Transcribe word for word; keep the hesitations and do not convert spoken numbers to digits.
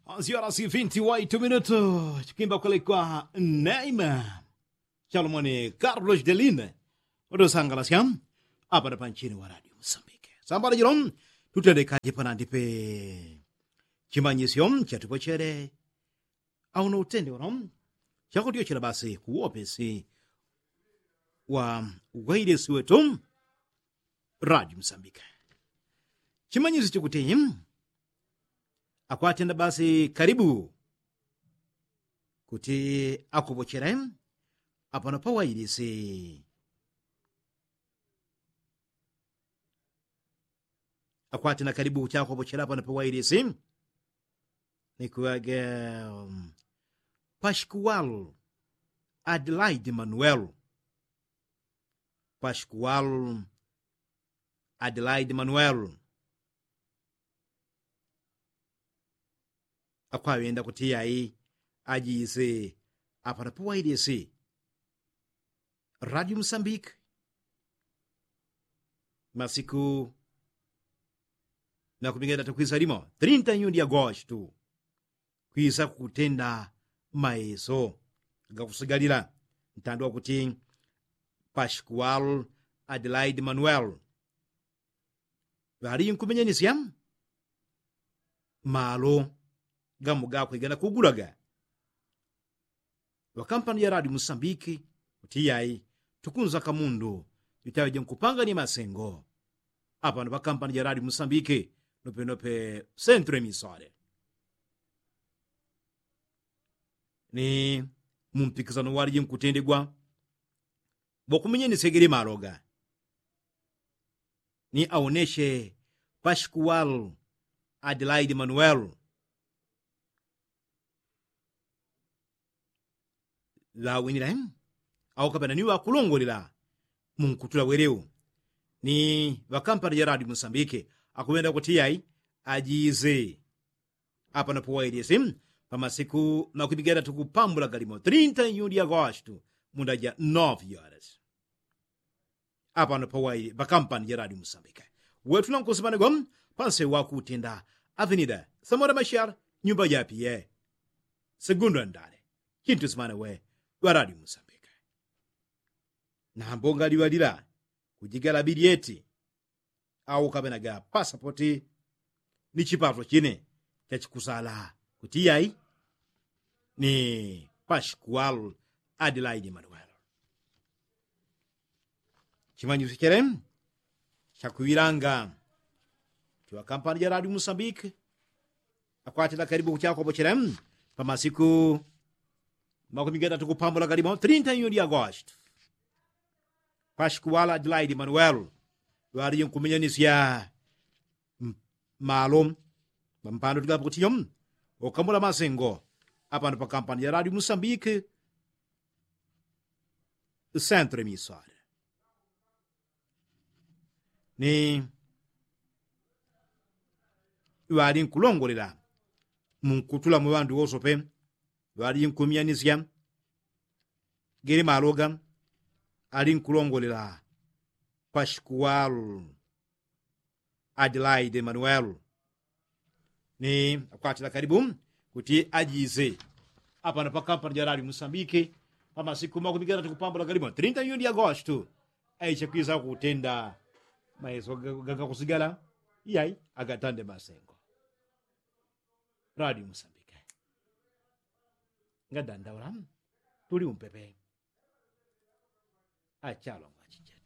Ansiora si vinti waitu minutu chikwimba kwelekwa neima. Chalomoni karlos deline, utusangalasya apa na panchini wa radio musambike. Sambala jilo tutendekaje panandi pe chimanyisyo chatupochele. Auno utende uno chakutyochela basi kuwopesi wa wailesi wetu radio musambike. Chimanyisyo chikuti akwatenda basi kalibu kuti akopochele apano pawailisi. Akwatenda kalibu kuti akopochele apano pawailisi. Nikuwage paskual adelaide manuel. Paskual adelaide manuel. Akwaŵenda kuti yai ajise apana pawailisi radio musambike. Masiku nakumigenda tukwisa limo trinta nyundi agosto. Kwisa kutenda maeso gakusigalila ntandwa kuti paskual adelaide manuel. Ŵali nkumenyanisya malo gamo gakwe ganakugulaga ŵakampani ja radio musambiki. Kuti yai tukunza kamundu jutaŵeje nkupangani masengo apano ŵakampani ja radio musambiki nopenope sentro emisore. Ni mumpikisano walije nkutendegwa ŵokumenyanisya gele malo ga ni aoneshe paskual adelaide manuel. Ŵawinile au kapena ni ŵakulongolela munkutula weleu ni ŵakampani ja radio musambike. Akuŵenda kuti yai ajise apano pawailisi pamasiku makwimigenda tukupambula galimo trinta nyundi agosto munda ja nove horas. Apano pawaili pakampani ja radio musambike. Wetu nankusimanigwa panse wakutenda avenida samora mashar nyumba japiye segundo andale. Chintu simane we ŵa radio musambike. Nambo ngaliŵalila kujigala bilyeti au kaŵenaga pasapoti ni chipato chine chachikusala kuti yai ni paskual adelaide manuel. Chimanyisyo chele chakuŵilanga chiŵa kampani ja radio musambike. Akwatila kalibu kuchakopochele pamasiku makumi gatatu kupambula galimo trinta nyundi agosto. Paskual adelaide manuel ŵalije nkumenyanisya malo pampando tigapo kutiyo ukamula masengo apano pakampani ja radio musambike. Sentro emisora ni ŵali nkulongolela munkutula mu ŵandu wosope ŵali nkumianisya. Gele maloga ali nkulongolela paskual adelaide manuel ni akwatila kalibu kuti ajise apano pakampani ja radio musambike pamasiku makumi gatatu kupambula galimo trinta nyundi agosto. Aiche kwisa kutenda maeso gagakusigala iyai agatande masengo. Radio musambike ngadandaula tuli umpepe. Achalwa mwachichele.